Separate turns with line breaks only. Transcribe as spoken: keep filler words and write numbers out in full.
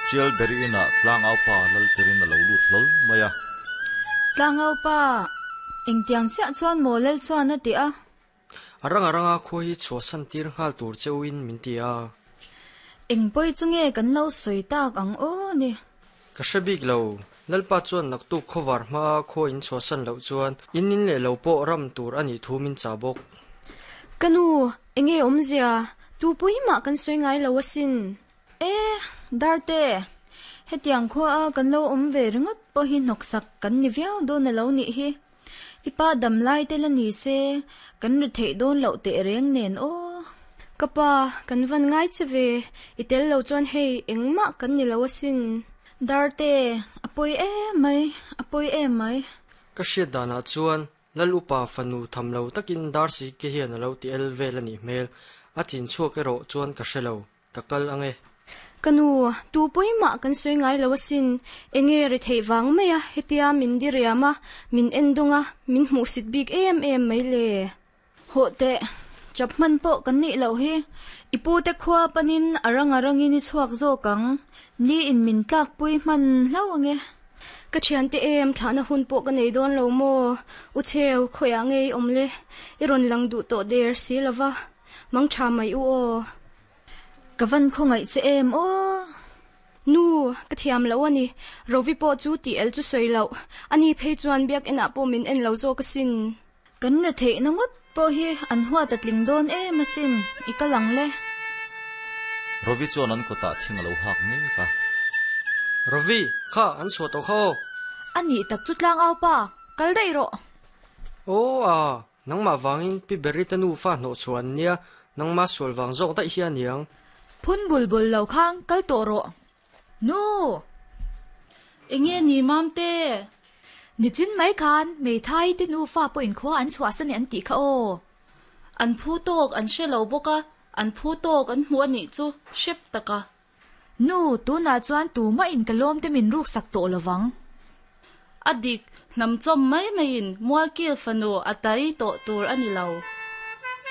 Chial beri ina tlang au pa lal tirin a lo lut hlol mai a.
Tlang au pa engtiang chiah chuan maw lal chuan a ti a.
A ranga ranga khaw hi chhuahsan tir nghal tur cheuin min ti a.
Eng pawi chu nge kan lo sawi tak ang aw ni.
Ka hre bik lo. Lalpa chuan naktuk khawvar hma khaw in chhuahsan loh chuan in in leh lo pawh ram tur a nih thu min cha bawk.
Ka nu, enge awmzia, tu pui mah kan sawi ngai lo asin.
E, Darte, hetiang khua a kan lo awm ve ringawt pawh hi hnawksak kan ni viau dawn a lo nih hi. I pa dam lai te la ni se, kan ri theih dawn loh teh reng nen aw.
Ka pa, kan van ngai che ve, i tel lo chuan hei engmah kan ni lo asin.
Darte, a pawi em mai, a pawi em mai.
Ka hriat danah chuan lal upa fanu tham lo takin dar si ke hian a lo ti el vel a nih hmel. A chin chhuak erawh chuan ka hre lo, ka kal ange.
Ka nu, tu pui mah kan sawi ngai lo asin. Enge ri theih vang mai a, hetia min diriam a, min en dawng a, min hmuh sit bik em em mai le.
Hawh teh, chap hman pawh kan nih loh hi. I pu te khua panin a ranga rangin i chhuak zawk ang. Ni in min tlak pui hman hlauh ange.
Ka thian te em thlahna hun pawh ka nei dawn lo maw. U cheu, khawiah ngei awm le. I rawn lang duh tawh der si lova. Mang tha mai u aw.
Ka van khawngaih che em aw.
Nu, ka thiam lo ani. Rovi pawh chu ti el chu sawi loh. Ani phei chuan biak enah pawh min en lo zawk asin.
Kan ri theih na ngawt pawh hi an huat a tling dawn em asin. I kal ang le.
Rovi chuan an kawtah thing a lo hak mek a.
Rovi, kha an chhuah tawh kha aw.
Ani tak chu tlang au pa, kal daih rawh.
Aw a, nangmah vangin pi beri te nu fa hnawh chhuah an nia, nangmah sual vang zawk daih hi a niang.
Phun bul bul lo khang kal tawh rawh. Nu!
Enge ni mam te?
Nichin mai khan Meithai te nu fa pawh in khua an chhuahsan an tih kha aw.
An phu tawk an hre lo bawk a, an phu tawk an hmu a nih chu hrep tak a.
Nu, tunah chuan tumah in ka lawm te min ruk sak tawh lovang.
A dik, hnam chawm mai maiin mualkil fanu a tai tawh tur a ni lo.